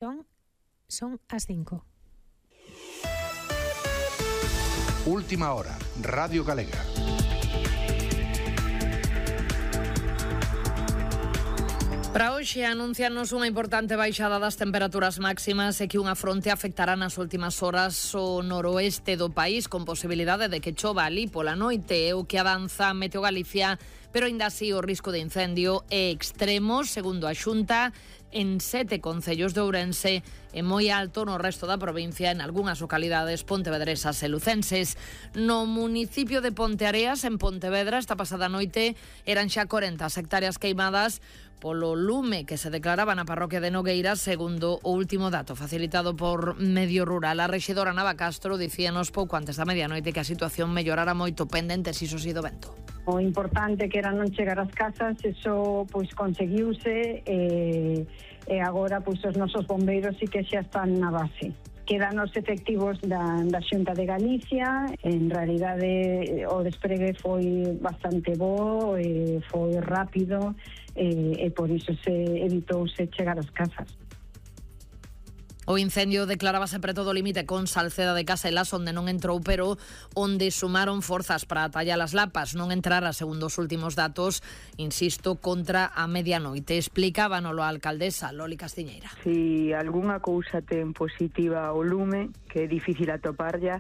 Son as 5. Última hora, Radio Galega. Para hoxe anuncianos unha importante baixada das temperaturas máximas e que unha fronte afectará nas últimas horas o noroeste do país, con posibilidade de que chova ali pola noite, é o que avanza Meteo Galicia, pero aínda así o risco de incendio é extremo, segundo a Xunta, en 7 concellos de Ourense e moi alto no resto da provincia, en algunhas localidades pontevedresas e lucenses. No municipio de Ponteareas, en Pontevedra, esta pasada noite eran xa 40 hectáreas queimadas polo lume que se declaraba na parroquia de Nogueira, segundo o último dato facilitado por Medio Rural. A rexedora Nava Castro dicíanos pouco antes da medianoite que a situación mellorara moito, pendentes iso si do vento. O importante que era non chegar ás casas, eso pois conseguiuse e agora pois os nosos bombeiros sí que xa están na base. Quedan os efectivos da Xunta de Galicia. En realidade o despregue foi bastante bo, foi rápido e por iso se evitouse chegar ás casas. O incendio declarábase preto do límite con Salceda de Caselas, onde non entrou, pero onde sumaron forzas para atallar as lapas. Non entrara, segundo os últimos datos, insisto, contra a medianoite. Explicábanolo a alcaldesa Loli Castiñeira. Si algunha cousa ten positiva o lume, que é difícil atoparlla,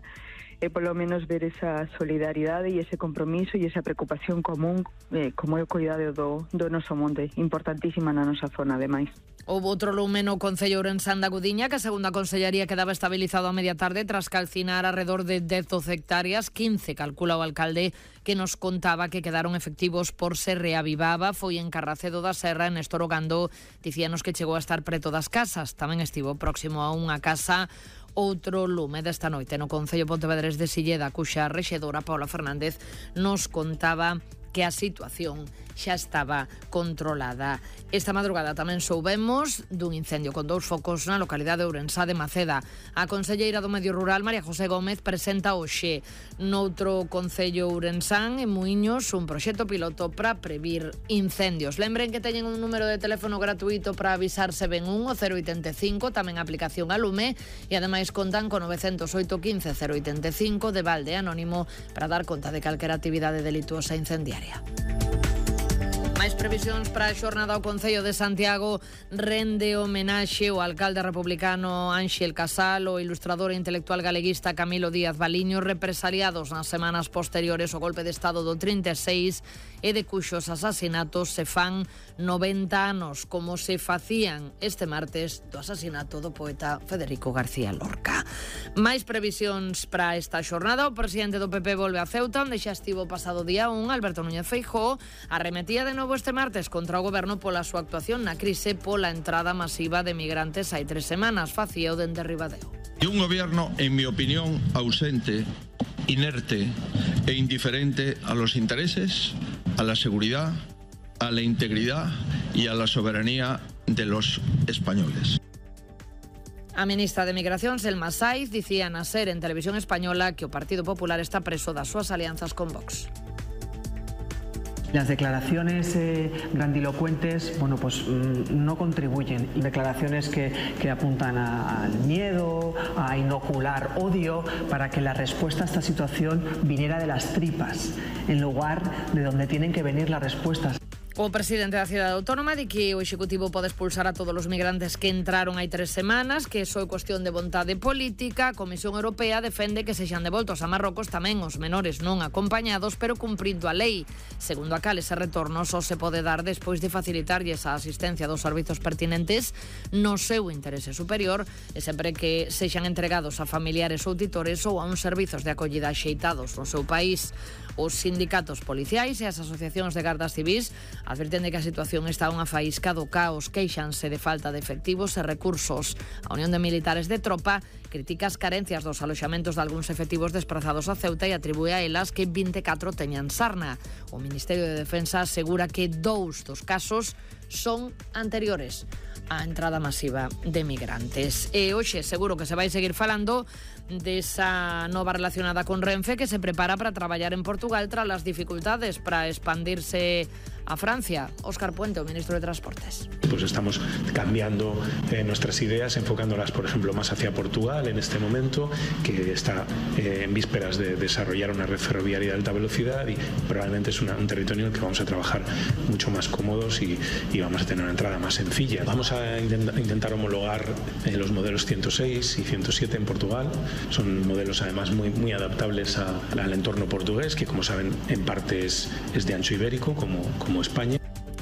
é polo menos ver esa solidaridade e ese compromiso e esa preocupación común como é o cuidado do noso monte, importantísima na nosa zona, ademais. Houve outro lume no Concello Ourensán da Gudiña, que a segunda consellería quedaba estabilizado a media tarde tras calcinar alrededor de 10-12 hectáreas, 15 calcula o alcalde, que nos contaba que quedaron efectivos por se reavivaba. Foi en Carracedo da Serra, en Néstor Ogando, dicíanos que chegou a estar preto das casas. Tamén estivo próximo a unha casa outro lume desta noite no Concello Pontevedrés de Silleda, cuxa rexedora Paula Fernández nos contaba que a situación xa estaba controlada. Esta madrugada tamén soubemos dun incendio con 2 focos na localidade de Ourensá de Maceda. A conselleira do Medio Rural, María José Gómez, presenta hoxe noutro concello ourensán, en Muiños, un proxecto piloto para previr incendios. Lembren que teñen un número de teléfono gratuito para avisarse ben 085, tamén a aplicación a lume, e ademais contan con 908 15 085 de balde anónimo para dar conta de calquera actividade delituosa incendiaria. Máis previsións para a xornada. O Concello de Santiago rende homenaxe ao alcalde republicano Ánxel Casal, o ilustrador e intelectual galeguista Camilo Díaz Baliño, represaliados nas semanas posteriores ao golpe de Estado do 36 e de cuxos asasinatos se fan 90 anos, como se facían este martes do asasinato do poeta Federico García Lorca. Máis previsións para esta xornada. O presidente do PP volve a Ceuta, onde xa estivo pasado día 1, Alberto Núñez Feijóo, arremetía de novo este martes contra o goberno pola súa actuación na crise pola entrada masiva de migrantes hai 3 semanas, facía o dende Ribadeo. Y un gobierno, en mi opinión, ausente, inerte e indiferente a los intereses, a la seguridad, a la integridad y a la soberanía de los españoles. A ministra de Migración, Selma Saiz, dicía na SER en Televisión Española que o Partido Popular está preso das súas alianzas con Vox. Las declaraciones grandilocuentes, no contribuyen. Declaraciones que apuntan al miedo, a inocular odio, para que la respuesta a esta situación viniera de las tripas, en lugar de donde tienen que venir las respuestas. O presidente da cidade autónoma di que o Executivo pode expulsar a todos os migrantes que entraron hai 3 semanas, que só é cuestión de vontade política. A Comisión Europea defende que sexan devoltos a Marrocos tamén os menores non acompañados, pero cumprindo a lei. Segundo a cal, ese retorno só se pode dar despois de facilitarlles a asistencia dos servizos pertinentes no seu interese superior e sempre que sexan entregados a familiares ou titores ou a uns servizos de acollida axeitados no seu país. Os sindicatos policiais e as asociacións de gardas civís advirten de que a situación está unha faísca do caos, queixanse de falta de efectivos e recursos. A Unión de Militares de Tropa critica as carencias dos aloxamentos de algúns efectivos desprazados a Ceuta e atribúe a elas que 24 teñan sarna. O Ministerio de Defensa asegura que 2 dos casos son anteriores á entrada masiva de migrantes. E hoxe seguro que se vai seguir falando desa nova relacionada con Renfe, que se prepara para traballar en Portugal tras as dificultades para expandirse a Francia. Óscar Puente, o ministro de Transportes. Pues estamos cambiando nuestras ideas, enfocándolas, por ejemplo, más hacia Portugal en este momento, que está en vísperas de desarrollar una red ferroviaria de alta velocidad, y probablemente es un territorio en el que vamos a trabajar mucho más cómodos y vamos a tener una entrada más sencilla. Vamos a intentar homologar los modelos 106 y 107 en Portugal. Son modelos además muy adaptables al entorno portugués, que como saben en parte es de ancho ibérico como España.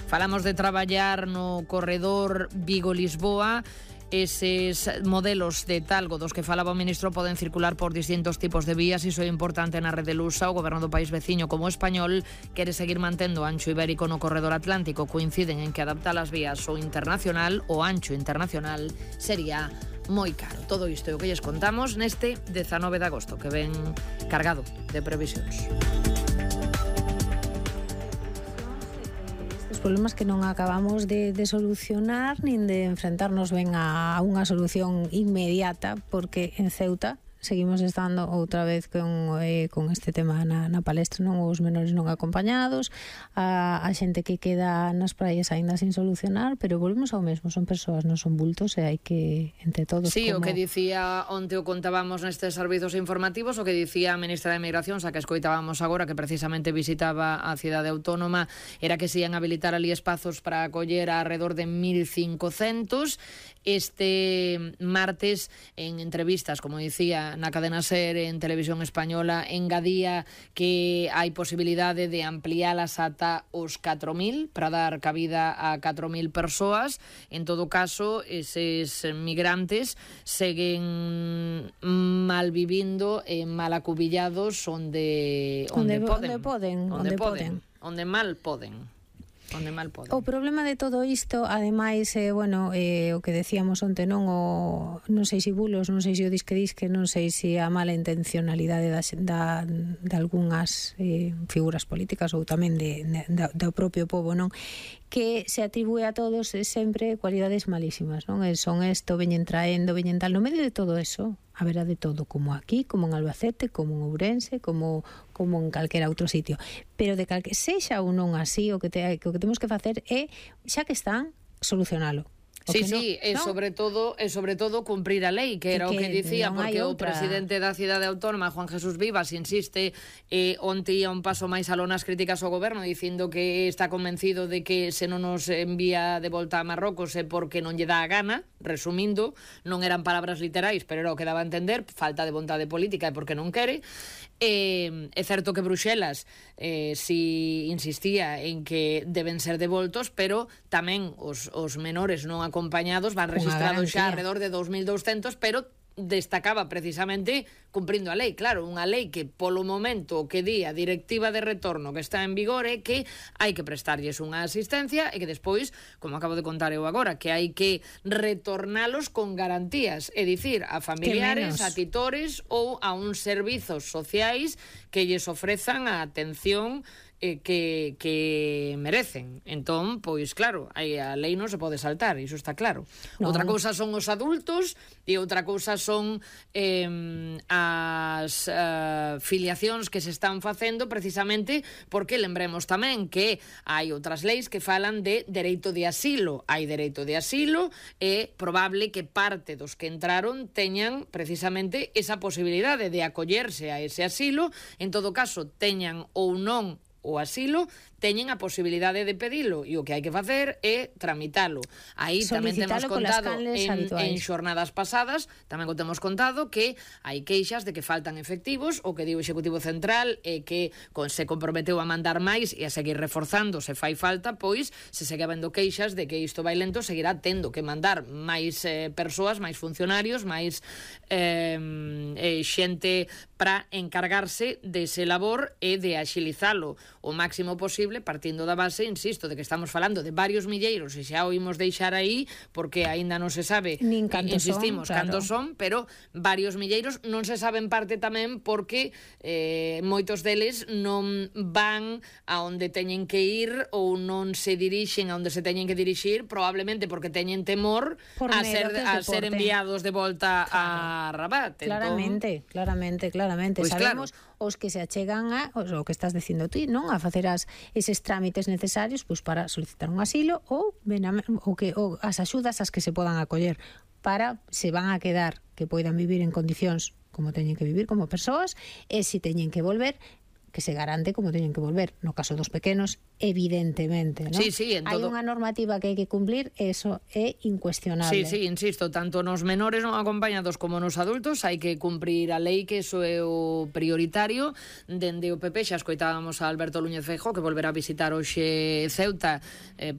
Falamos de traballar no corredor Vigo-Lisboa. Eses modelos de Talgo dos que falaba o ministro poden circular por distintos tipos de vías. Iso é importante na rede lusa. O goberno do país veciño como o español quere seguir mantendo o ancho ibérico no corredor atlántico. Coinciden en que adaptar as vías ao internacional, o ancho internacional, sería moi caro. Todo isto é o que lles contamos neste 19 de agosto, que ven cargado de previsións. Problemas que non acabamos de solucionar nin de enfrentarnos ben a unha solución inmediata, porque en Ceuta seguimos estando outra vez con este tema na palestra, non, os menores non acompañados, a xente que queda nas praias aínda sin solucionar, pero volvemos ao mesmo, son persoas, non son bultos, e hai que entre todos... Sí, o que dicía onte o contábamos nestes servizos informativos, o que dicía a ministra de Migracións, a que escoitábamos agora, que precisamente visitaba a cidade autónoma, era que se ian habilitar ali espazos para acoller a alrededor de 1.500. Este martes, en entrevistas, como dicía, na cadena SER, en Televisión Española, engadía que hai posibilidade de ampliálas ata os 4.000 para dar cabida a 4.000 persoas. En todo caso, eses migrantes seguen mal vivindo e mal acubillados onde mal poden. O problema de todo isto, ademais, o que decíamos onte, non sei se bulos, non sei se o disque, non sei se a mala intencionalidade de algunhas figuras políticas ou tamén do propio pobo, non, que se atribúe a todos sempre cualidades malísimas, non? Son isto, veñen traendo, veñen tal. No medio de todo eso haberá de todo, como aquí, como en Albacete, como en Ourense, como en calquera outro sitio. Pero de calque sexa ou non así, o que temos que facer é, xa que están, solucionalo. Sí, e sobre todo cumprir a lei, que era o que dicía, porque o presidente da cidade autónoma, Juan Jesús Vivas, insiste, onte ia un paso máis aló nas críticas ao goberno, dicindo que está convencido de que se non nos envía de volta a Marrocos é porque non lle dá a gana. Resumindo, non eran palabras literais, pero era o que daba a entender, falta de vontade política e porque non quere. É certo que Bruxelas si insistía en que deben ser devoltos, pero tamén os menores non acompañados van registrados xa alrededor de 2.200, pero destacaba precisamente cumprindo a lei. Claro, unha lei que polo momento o que di a directiva de retorno que está en vigor é que hai que prestarlles unha asistencia e que despois, como acabo de contar eu agora, que hai que retornalos con garantías, é dicir, a familiares, a titores ou a uns servizos sociais que lles ofrezan a atención que merecen. Entón, pois claro, a lei non se pode saltar, iso está claro. Outra cousa son os adultos e outra cousa son as filiacións que se están facendo precisamente porque lembremos tamén que hai outras leis que falan de dereito de asilo. Hai dereito de asilo e probable que parte dos que entraron teñan precisamente esa posibilidade de acollerse a ese asilo. En todo caso, teñan ou non o asilo, teñen a posibilidade de pedilo e o que hai que facer é tramitalo. Aí tamén temos contado en xornadas pasadas, tamén temos contado que hai queixas de que faltan efectivos, o que di o Executivo Central é que se comprometeu a mandar máis e a seguir reforzando se fai falta, pois se segue habendo queixas de que isto vai lento, seguirá tendo que mandar máis persoas, máis funcionarios, máis xente para encargarse dese labor e de axilizalo o máximo posible, partindo da base, insisto, de que estamos falando de varios milleiros e xa o imos deixar aí porque aínda non se sabe, nin cantos insistimos, son, claro. cantos son, pero varios milleiros non se sabe en parte tamén porque moitos deles non van a onde teñen que ir ou non se dirixen a onde se teñen que dirixir, probablemente porque teñen temor a ser enviados de volta a Rabat. Claramente. Pues sabemos os que se achegan o que estás dicindo ti, non? A facer eses trámites necesarios pois para solicitar un asilo ou as axudas as que se podan acoller para se van a quedar que poidan vivir en condicións como teñen que vivir como persoas e se teñen que volver que se garante como teñen que volver. No caso dos pequenos, evidentemente, ¿no? Sí, hai unha normativa que hai que cumplir, eso é incuestionable. Sí, insisto, tanto nos menores non acompañados como nos adultos hai que cumprir a lei, que eso é o prioritario. Dende o PP xa escoitábamos a Alberto Núñez Feijóo, que volverá a visitar hoxe Ceuta,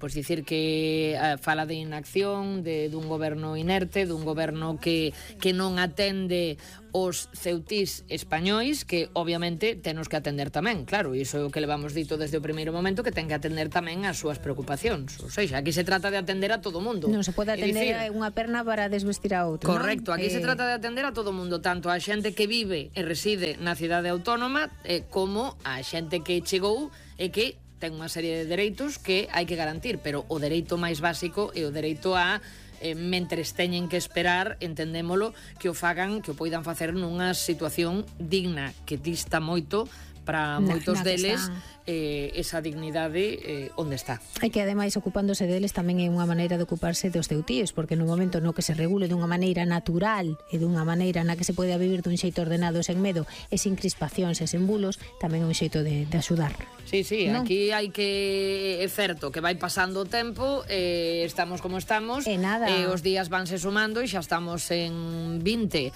pois dicir que fala de inacción, dun goberno inerte, dun goberno que non atende os ceutís españois, que obviamente tenos que atender tamén, claro, iso é o que levamos dito desde o primeiro momento, que ten que atender tamén as súas preocupacións. Ou seja, aquí se trata de atender a todo mundo. Non se pode atender a unha perna para desvestir a outra. Correcto, aquí se trata de atender a todo mundo, tanto a xente que vive e reside na cidade autónoma como a xente que chegou e que ten unha serie de dereitos que hai que garantir, pero o dereito máis básico é o dereito a mentres teñen que esperar, entendémolo, que o fagan, que o poidan facer nunha situación digna, que dista moito para moitos deles esa dignidade onde está. E que ademais ocupándose deles tamén é unha maneira de ocuparse dos ceutíes, porque no momento no que se regule dunha maneira natural e dunha maneira na que se poida vivir dun xeito ordenado e sen medo e sin crispacións e sen bulos, tamén é un xeito de axudar. Sí, ¿no? Aquí hai que, é certo que vai pasando o tempo, estamos como estamos, e nada. Os días vanse sumando e xa estamos en 20.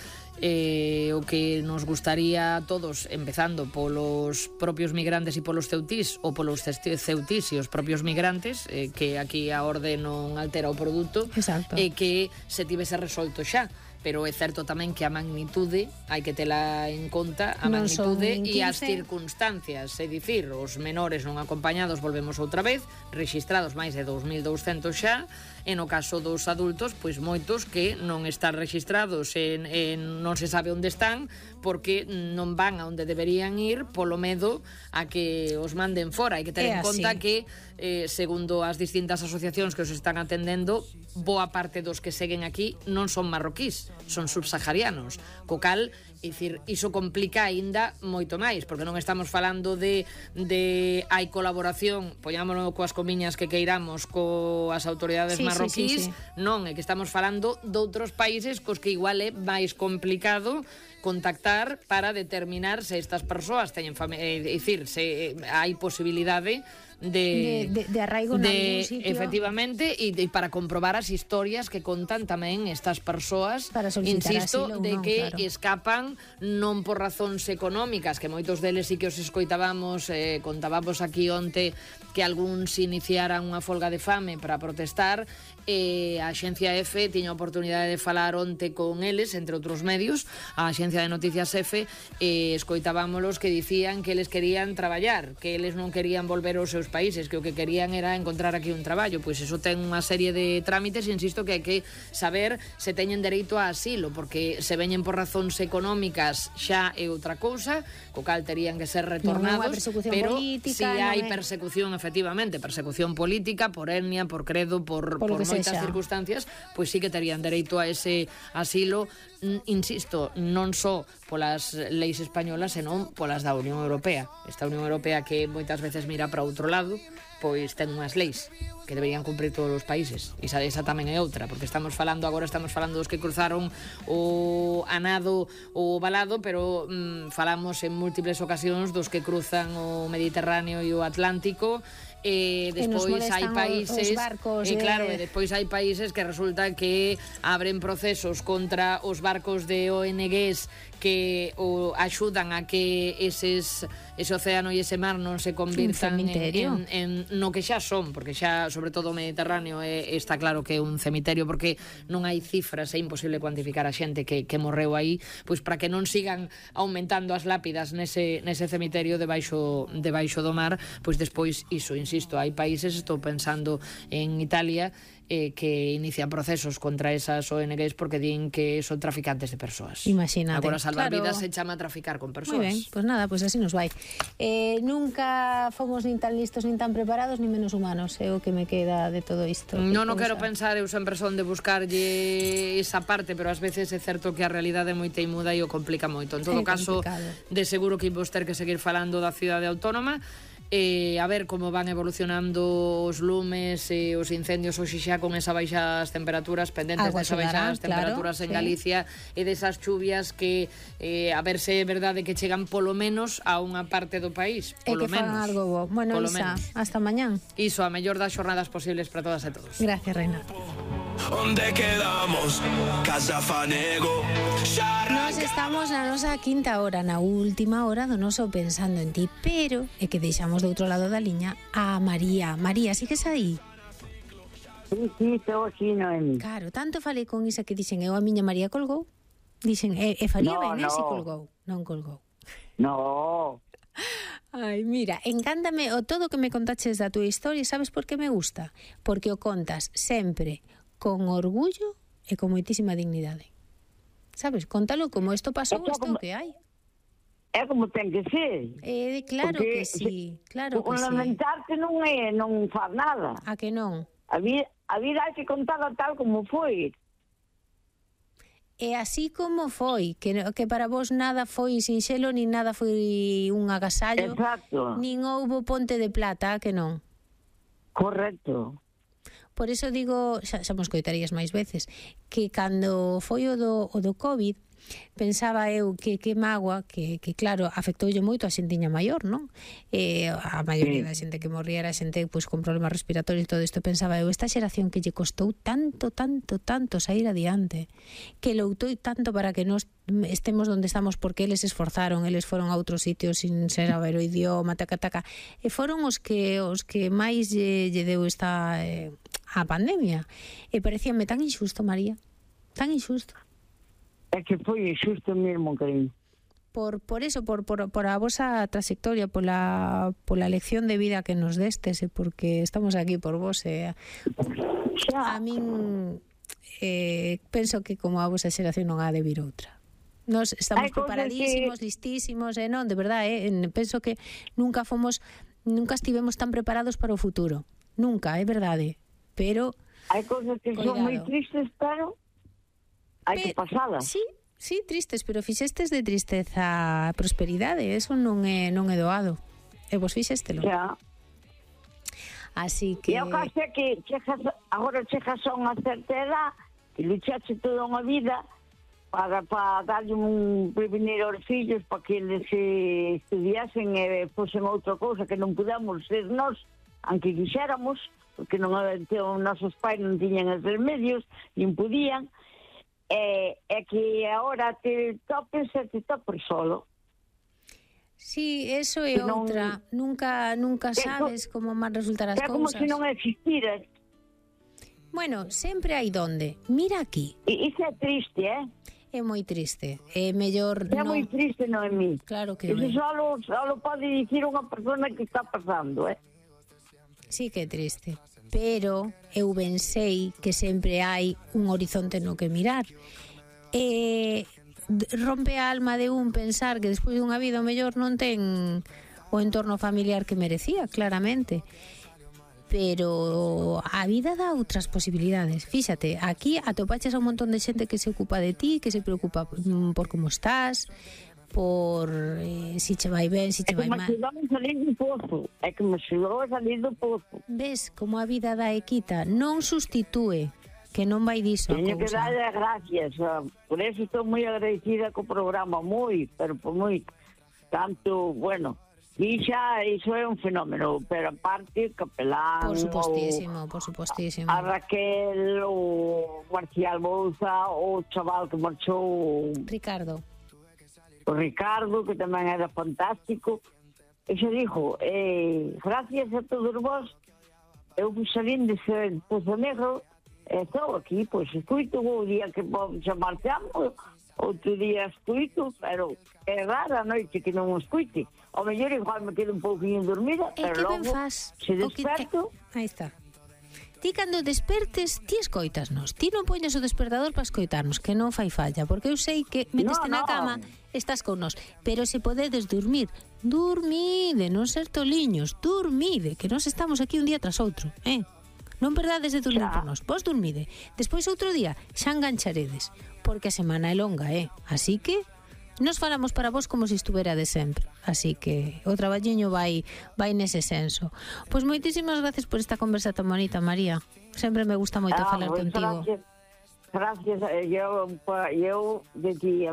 O que nos gustaría a todos, empezando polos propios migrantes e polos ceutís, ou polos ceutís e os propios migrantes, que aquí a orde non altera o produto, e que se tivese resolto xa. Pero é certo tamén que a magnitude hai que tela en conta, a magnitude e as circunstancias, é dicir, os menores non acompañados volvemos outra vez, rexistrados máis de 2.200 xa, e no caso dos adultos, pois moitos que non están rexistrados e non se sabe onde están porque non van a onde deberían ir polo medo a que os manden fora. Hai que ter en conta que, segundo as distintas asociacións que os están atendendo, boa parte dos que seguen aquí non son marroquís, son subsaharianos, co cal, iso complica aínda moito máis, porque non estamos falando de hai colaboración, poñámonos coas comiñas que queiramos coas autoridades marroquís, non, é que estamos falando doutros países cos que igual é máis complicado contactar para determinar se estas persoas teñen familia, é dicir, se hai posibilidade de arraigo en algún sitio, efectivamente, e para comprobar as historias que contan tamén estas persoas, insisto, asilo, de que escapan non por razóns económicas, que moitos deles sí que os escoitábamos, contábamos aquí onte que algúns iniciaran unha folga de fame para protestar, a Axencia EFE tiña a oportunidade de falar onte con eles, entre outros medios, a Axencia de Noticias EFE, escoitábamolos que dicían que eles querían traballar, que eles non querían volver aos seus países, que o que querían era encontrar aquí un traballo. Pois eso ten unha serie de trámites, insisto, que hai que saber se teñen dereito a asilo, porque se veñen por razóns económicas xa é outra cousa, co cal terían que ser retornados, pero si hai persecución, efectivamente, persecución política, por etnia, por credo, por moitas circunstancias, pois sí que terían dereito a ese asilo, insisto, non só polas leis españolas, senón polas da Unión Europea. Esta Unión Europea que moitas veces mira para outro lado, pois ten unhas leis que deberían cumprir todos os países, e esa tamén é outra, porque estamos falando dos que cruzaron o a nado ou o valado, pero falamos en múltiples ocasións dos que cruzan o Mediterráneo e o Atlántico, despois hai países os barcos claro, e despois hai países que resulta que abren procesos contra os barcos de ONGs que axudan a que ese océano e ese mar non se convirtan en no que xa son, porque xa, sobre todo o Mediterráneo, está claro que é un cemiterio, porque non hai cifras, é imposible cuantificar a xente que morreu aí, pois para que non sigan aumentando as lápidas nese cemiterio debaixo do mar, pois despois iso, insisto, hai países, estou pensando en Italia, que inician procesos contra esas ONGs porque din que son traficantes de persoas. Imagínate. Agora salvar vidas se chama traficar con persoas. Moi ben, pois nada, pois así nos vai. Nunca fomos nin tan listos, nin tan preparados, nin menos humanos, é o que me queda de todo isto. Non quero pensar, eu sempre son de buscarlle esa parte, pero ás veces é certo que a realidade é moi teimuda e o complica moito. En todo caso, de seguro que imos ter que seguir falando da cidade autónoma, a ver como van evolucionando os lumes e os incendios hoxe xa con esa baixas temperaturas, pendentes desa baixas temperaturas en Galicia e desas chuvias que a ver se é verdade que chegan polo menos a unha parte do país, polo menos. Fan algo bo. Bueno, Isa, hasta mañán. Iso, a mellor das xornadas posibles para todas e todos. Gracias, Reina. Onde quedamos? Casa Fanego. Nos estamos na nosa quinta hora, na última hora do noso Pensando en Ti, pero é que deixamos do outro lado da liña a María. María, sigues aí? Sí, estou aquí, Noemi. Claro, tanto falei con Isa que dixen, a miña María colgou. Dixen, faría ben, se colgou. Non colgou. No. Ai, mira, encántame o todo que me contaches da tua historia, sabes por que me gusta? Porque o contas sempre con orgullo e con moitísima dignidade. Sabes, contalo como isto pasou, isto que hai. É como ten que ser. Claro que sí, claro que sí. Lamentarte non faz nada. A que non? A vida hai que contarla tal como foi. E así como foi, que para vos nada foi sinxelo, nin nada foi un agasallo. Exacto. Nin houbo ponte de plata, que non? Correcto. Por eso digo, xa mos coitarías máis veces, que cando foi o do COVID, pensaba eu que mágoa, que claro, afectoulle moito a xentiña maior, non? A maioría da xente que morría era xente pois, con problemas respiratorios e todo isto. Pensaba eu, esta xeración que lle costou tanto sair adiante, que loutou tanto para que nos estemos onde estamos, porque eles esforzaron, eles foron a outros sitios sin ser saber o idioma, taca, e foron os que máis lle deu esta a pandemia. E parecíame tan injusto, María, tan injusto. É que foi injusto mesmo, cariño. Por eso, por a vosa trayectoria, pola lección de vida que nos destes, porque estamos aquí por vos. A min penso que como a vosa xeración non ha de vir outra. Nos estamos preparadísimos, listísimos, non, de verdade, penso que nunca estivemos tan preparados para o futuro. Nunca, é verdade. Pero hai cousas que son moi tristes, pero hai que pasalas. Sí, tristes, pero fixestes de tristeza a prosperidade, eso non é doado. E vos fixéstelo. Xa. Así que... E o caso é que agora chegas a unha certa edad e luchaste toda unha vida para darlle un prevenir aos fillos para que eles estudiasen e fosen outra cousa que non pudamos ser nós, aunque quixéramos, porque non os nosos pais non tiñan os medios, nin podían, é que agora te topes solo. Sí, eso é outra. Nunca sabes como van resultar as cousas. É como se non existiras. Bueno, sempre hai donde. Mira aquí. Iso é triste, É moi triste. É mellor non... É moi triste, Noemí. Claro que Eso solo pode dicir unha persona que está pasando, Sí que é triste, pero eu ben sei que sempre hai un horizonte no que mirar. Rompe a alma de un pensar que despois dunha vida o mellor non ten o entorno familiar que merecía, claramente. Pero a vida dá outras posibilidades. Fíxate, aquí atopaches a un montón de xente que se ocupa de ti, que se preocupa por como estás, por si che vai ben, si che vai mal. É que me axudou a salir do pozo. Ves como a vida dá e quita, non sustitúe, que non vai diso a cousa. Teño que darle gracias, por eso estou moi agradecida co programa, pero por moi tanto, bueno, E xa, iso é un fenómeno, pero aparte, Capelán, Por supostísimo. a Raquel, o Marcial Bouza, o chaval que marchou... Ricardo. O Ricardo, que tamén era fantástico. E xa dixo, gracias a todos vos, eu salín dese Pozo Negro, estou aquí, pois escuito o día que xa marchamos, outro día escuito, pero é rara a noite que non o escuite. O mellor igual me quedo un pouquinho dormida, pero logo se desperto... Aí está. Ti cando despertes, ti escoitasnos. Ti non poñes o despertador para escoitarnos, que non fai falla, porque eu sei que meteste na cama, estás con nós. Pero se podedes dormir, dormide, non ser toliños, dormide, que nós estamos aquí un día tras outro, Non perdades de dormir por nós, vos dormide. Despois outro día xa engancharedes, porque a semana é longa, Así que nos falamos para vos como se estuvera de sempre. Así que o traballiño vai nese senso. Pois moitísimas gracias por esta conversa tan bonita, María. Sempre me gusta moito falar contigo. Gracias. Eu de ti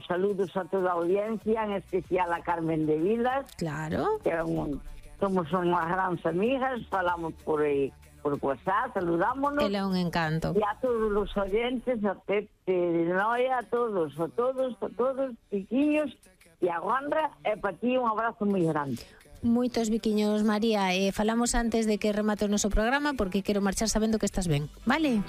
saludos a toda a audiencia, en especial a Carmen de Vilas. Claro. Que somos unhas grandes amigas, falamos por WhatsApp, saludámonos. Ele é un encanto. E a todos os oyentes, a Pepe de Noia, a todos, piquiños, e a Juanra, e para ti un abrazo moi grande. Moitos biquiños, María. Falamos antes de que remate o noso programa, porque quero marchar sabendo que estás ben, vale?